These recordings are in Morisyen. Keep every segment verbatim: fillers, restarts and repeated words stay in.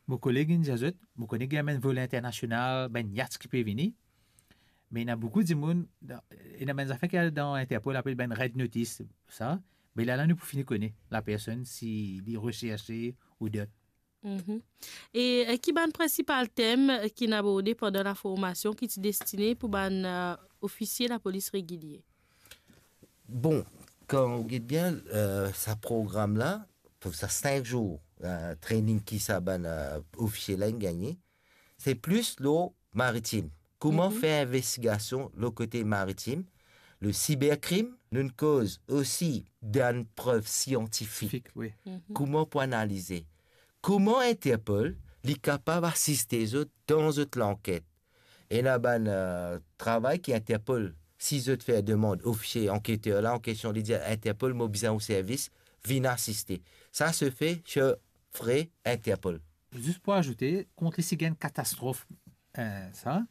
Mo koleg inn dir zot, mo kone gagn bann vol internasional, bann yacht ki pe vini, me ena boukou dimoun, dan, ena bann zafer ki al dan Interpol, apel bann red notice, sa. Me lerla nou pou fini kone lapersonn si li reserse ou dot. Mhm. E, eh, ki bann prinsipal tem, eh, ki'nn aborde pandan laformasion ki ti destine pou bann, eh, ofisie lapolis regilie? Bon, kan ou get bien, eh, sa program la, pou sa sink zour, eh, training ki sa bann, eh, ofisie la inn gagne, se plis lor maritim. Kouma fer investigasion lor kote maritim, le siberkrim, nou'nn koz osi dan prev siantifik. Siantifik, wi. Kouma pou analize. Kouma Interpol, li kapav asiste zot dan zot lanket. Ena bann, eh, travay ki Interpol, si zot fer demand, ofisie, anketer la an kestion, li dir, "Interpol, mo bizin ou servis, vinn asiste." Sa se fe, se fre Interpol. Zis pou azoute, kont li si gagn katastrof, eh, sa,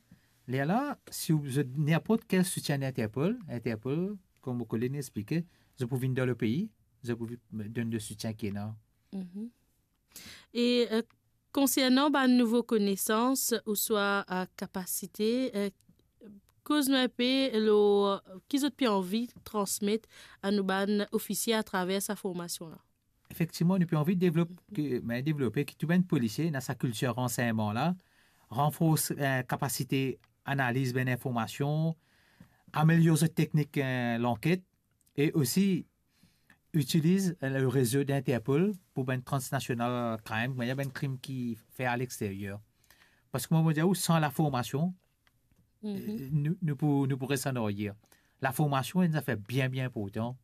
lerla, si ou bizin ninport kel soutien Interpol, Interpol, kouma mo koleg inn explike, zot pou vinn dan le pei, zot pou vi-, donn le soutien ki ena. Mhm. E, eh, konsernan bann nouvo konesans ouswa, eh, kapasite, eh, koz nou inpe lor ki zot pe anvi transmet a nou bann ofisie atraver sa formasion la. Efektivman, nou pe anvi devlop, ke, ben, devlope ki tou bann polisie ena sa kiltir ransegnman la, ranfors, eh, kapasite analiz bann informasion, amelior zot teknik, eh, lanket, e osi itiliz, eh, le rezo Interpol pou bann transnasional crime, bann krim ki fer aleksteryer. Parski, kouma mo dir ou, san laformasion, eh, nou, nou pou, nou pou res an aryer. Laformasion, enn zafer bien, bien inportan.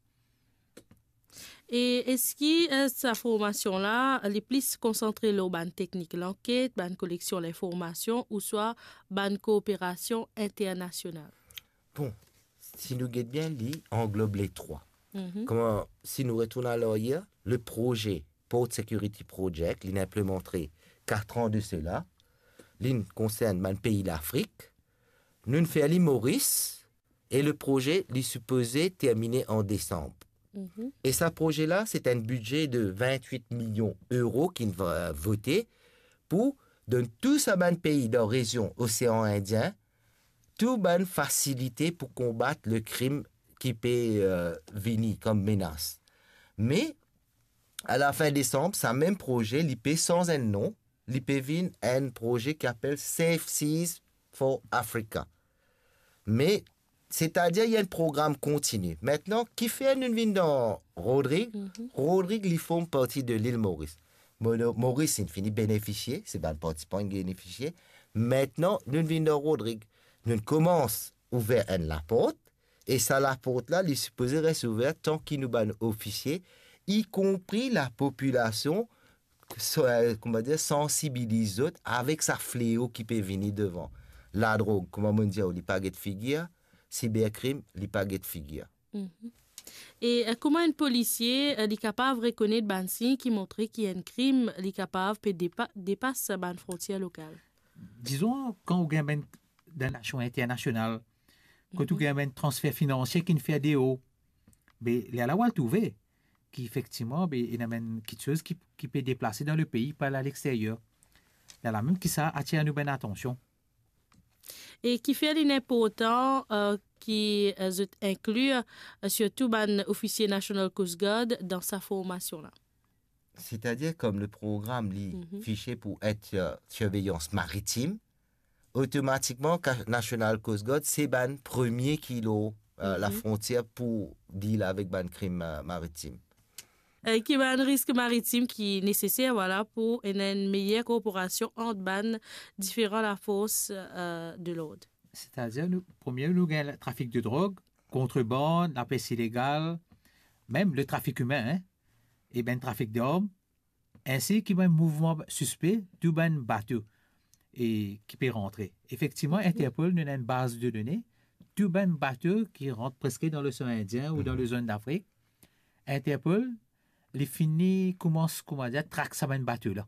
E eski, eh, sa formasion la, li plis konsantre lor bann teknik lanket, bann koleksion linformasion, ouswa bann kooperasion internasional? Bon, si nou get bien, li anglob le trwa. Mhm. Kouma, si nou retourn an aryer, le proze Port Security Project, li'nn inplimante kat an de sela, li'nn konsern bann pei Lafrik, nou'nn fer li Moris, e le proze, li sipoze termine an desanm. Mhm. E sa proze la, se enn bidze de vintwit milion euro ki'nn va, vote pou donn tou sa bann pei dan rezion Osean Indien, tou bann fasilite pou konbat le krim ki pe, eh, vini kom menas. Me, a lafin desanm, sa mem proze, li pe sanz enn non, li pe vinn enn proze ki apel Safe Seas for Africa. Me, setadir, li enn program kontini. Aster, kifer nou vinn dan Rodrig? Mhm. Rodrig, li form parti de lil Moris. Mo-, Moris, inn fini benefisie, se bann partisipan inn benefisie. Aster, nou vinn dan Rodrig. Nou koumans ouver enn laport, e sa laport la, li sipoze res ouver tan ki nou bann ofisie, ikonpri lapopilasion, so-, eh, kouma dir, sansibiliz zot avek sa fleo ki pe vini devan. Ladrog, kouma mo dir, li pa get figir, siberkrim, li pa get figir. Mhm. E, eh, kouma enn polisie, eh, li kapav rekonet bann sign ki montre ki enn krim, li kapav pe depa-, depas bann frontier lokal? Dizon, kan ou gagn bann dan nasion internasional, kot ou gagn bann transfer finansie ki'nn fer deor, be, lerla ou al trouve ki efektivman, be, ena bann kiksoz ki, ki pe deplase dan lepei, pou al aleksteryer. Lerla mem ki sa atir nou bann atansion. E kifer li inportan, eh, ki, eh, zot inkli, eh, sirtou bann ofisie National Coast Guard dan sa formasion la? Setadir, kom le program, li fixe pou et, eh, sirveyans maritim, otomatikman, ka-, National Coast Guard, se bann premie ki lor, eh, lafrontier pou deal avek bann krim, eh, maritim. Eh, ki bann risk maritim ki neseser, vwala, pou ena enn meyer korporasion ant bann diferan lafors, eh, de lord? Setadir, nou, premie, nou gagn trafik de drog, kontrebann, lapes ilegal, mem le trafik imin, hein, e bann trafik darm, ensi ki bann mouvman sispe, tou bann bato, e ki pe rantre. Efektivman, Interpol, nou ena enn baz de done, tou bann bato ki rant preske dan Losean Indien ou dan lezone Dafrik, Interpol, li fini koumans, kouma dir, trak sa bann bato la.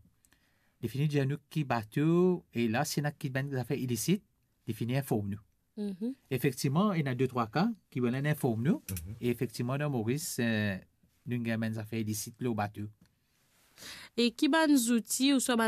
Li fini dir nou ki bato, e la, si ena ki bann zafer ilisit, li fini inform nou. Mhm. Efektivman, ena de trwa ka ki bann la inform nou. Mhm. E efektivman, dan Moris, eh, nou gagn bann zafer ilisit lor bato. E ki bann zouti ouswa bann